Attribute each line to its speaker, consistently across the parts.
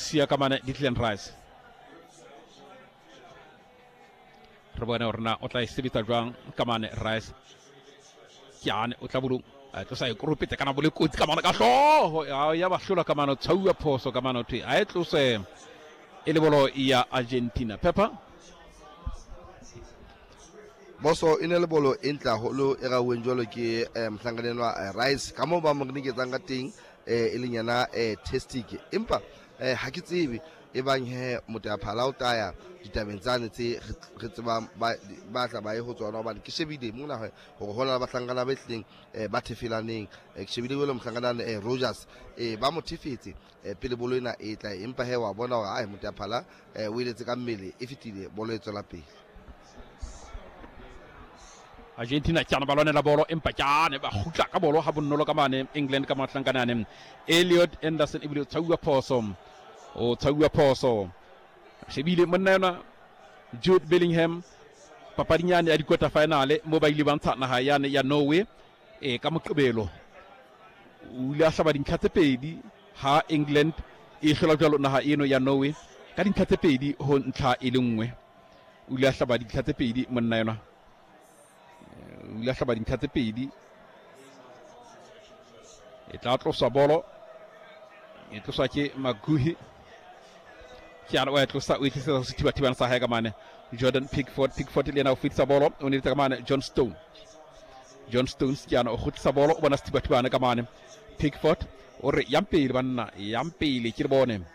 Speaker 1: Siya ka mane Declan Rice. Re bone hore na o tla e sebetsa jwang ka mane Rice. Ke ane o tla bolong a tlosa e koropetse kana bole kotsi ka mane ka hlooho ya ba hlola ka mane tshauwa phoso ka mane thwe a e tlose e le bolo ya Argentina. Pepper
Speaker 2: Boso e ne le bolo e ntle haholo e rauweng jwalo ke eh, mohlankana enwa eh, Rice ka moo ba mo reniketsang ka teng eh, e leng yena eh, Testic empa eh, ha ke tsebe e bang he moteyaphala o taya ditabeng tsane tse re tsebang ba tla ba ye ho tsona hobane ke shebile mona gore go na le bahlankana ba tlileng ba thefelaneng ke shebile jalo mohlankana Rogers ba mo thefetse pele bolo ena e tla empa he wa bona gore ae moteyaphala o eletse ka mmele e fetile bolo e tswela pele.
Speaker 1: Argentina ke ba lwanela bolo empa ke ba kgutla ka bolo ha bonolo ka mane England ka mahlankana Elliot Anderson ebile o tshauwa phoso o tshauwa phoso shebile monna yona Jude Bellingham papading yane ya di-quarter final mo ba ile ba ntsha naga yane ya Norway e ka moqebelo o ile a hlaba dintlha tse pedi ha England e hlola jwalo naga eno ya Norway ka dintlha tse pedi ho ntlha e le nngwe. O ile a hlaba dintlha tse pedi monna enwa, o ile a hlaba dintlha tse pedi. E tla tloswa bolo, e tloswa ke Maguhi. Ke ana o e tlosa, o e tlisetsa ho sethibathibana sa hae ka mane Jordan Pickford. Pickford le yena o fetisa bolo, o neletsa ka mane John Stone. John Stones ke ana o kgutlisa bolo, o bona sethibathibana ka mane Pickford, o re yang pele banna, yang pele ke le bone.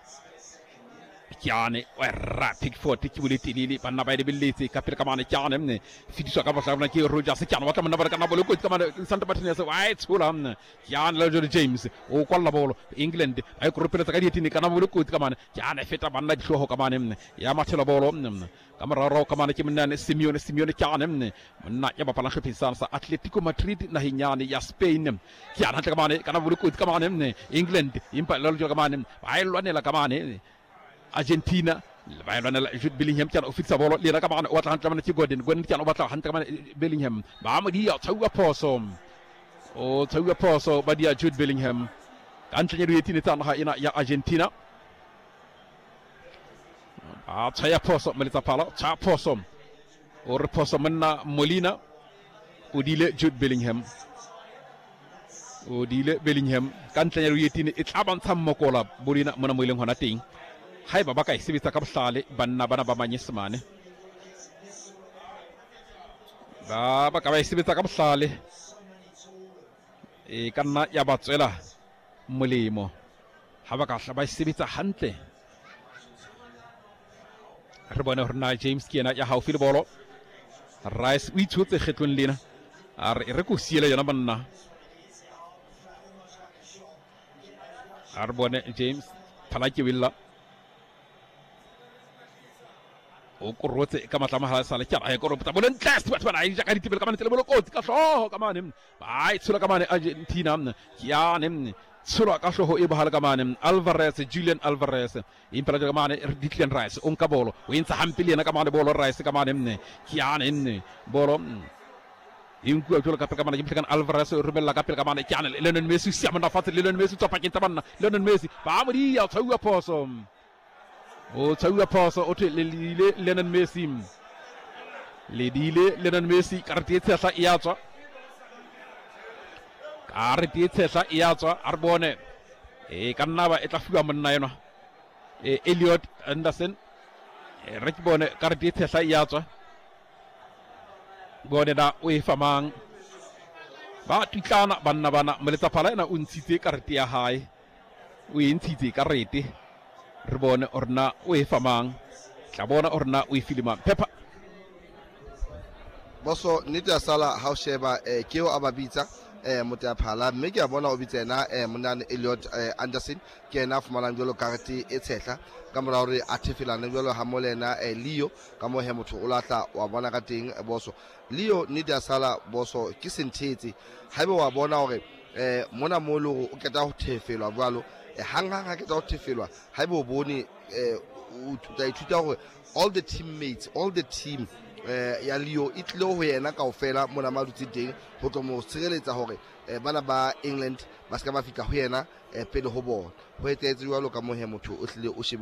Speaker 1: Ke wa ra Pickford ke bole telele, banna ba e lebelletse ka pele ka mane. Ke ane mne fetiswa ka bohlabana ke Rogers, ke ane wa tla monna ba ka na bolo kotsi ka mane Santa Martinez wa e tshola mne. Ke ane le Jordan James o kwalla bolo England ba e koropeletsa ka dietini kana bolo kotsi ka mane. Ke ane feta banna dihlooho ka mane mne ya mathela bolo mne ka morao ka mane ke monna Simeone. Simeone ke ane mne monna ya bapalang hlopheng sa Atletico Madrid naheng yane ya Spain. Ke ane hantle ka mane kana bolo kotsi ka mane mne England empa le ka mane ba e lwanela ka mane Argentina ba e lwanela. Jude Bellingham ke o fitisa bolo le yena ka mane o batla hantle mane ke Gordon. Gordon ke o batla hantle ka mane Bellingham ba mo dia tshauwa phoso, o tshauwa phoso ba dia Jude Bellingham ka ntle ya dietini tsa naga ena ya Argentina. A tshwaya phoso moletsa phala, tshwaya phoso o re phoso monna Molina o dile Jude Bellingham, o dile Bellingham ka ntle ya dietini e tla bantsha mmokola bolina mona mo e leng hona teng. Haeba ba ka e sebetsa ka bohlale banna bana ba Manyesemane ba ka ba e sebetsa ka bohlale e ka nna ya ba tswela molemo ha ba ka hla ba e sebetsa hantle. Re bone hore na James ke yena ya haufi le bolo. Rice o itshotse kgetlong lena, a re re ko siele yona banna. A re bone James phala ke willa o korotse ka matla mahala sale ke a koropotsa bolo ntle batho bana e ja ka ditebele ka mane tsele bolo kotsi ka hlooho ka mane ba e tshola ka mane Argentina ke yane tsholwa ka hlooho e bohale ka mane Alvarez, Julian Alvarez impela ka mane Declan Rice o nka bolo o entsa hampe le yena ka mane bolo Rice ka mane nne ke yane nne bolo e nkuwa jwalo ka pele ka mane ke mohlekana Alvarez o romella ka pele ka mane ke yane Lionel Messi sia monna fatshe. Lionel Messi tswa pakeng tsa banna, Lionel Messi ba mo dia tshauwa phoso, o tshauwa phoso o thwe le ile Lionel Messi, le dile Lionel Messi karete e tshehla e ya tswa, karete e tshehla e ya tswa. A re bone e ka nna ba e tla fiwa monna enwa Elliot Anderson. Re ke bone karete e tshehla e ya tswa, bone na o e fa mang. Ba tutlana banna bana, moletsaphala ena o ntshitse karete ya hae, o e ntshitse karete. Re bone hore na o e fa mang, tla bona hore na o e file mang. Pepper
Speaker 2: boso nnete ya sala ha o sheba ke eo a ba bitsa moteyaphala mme ke a bona o bitsa yena monane Elliot Anderson ke yena a fumanang jwalo karete e tshehla ka mora hore a thefelane jwalo ha mo le yena Leo ka moo he motho o lahla wa bona ka teng boso Leo nnete ya sala boso ke senthetse haebe wa bona hore mona mo le hore o qeta ho thefelwa jwalo hang hang ha qeta ho thefelwa haebe o bone o tla ithuta hore all the teammates, all the team ya Leo e tlile ho yena kaofela mona ma dutse teng ho tlo mo tshireletsa hore bana ba England ba ska ba fihla ho yena pele ho bona. Ho etsahetse jwalo ka moo he motho o hlile o shebe.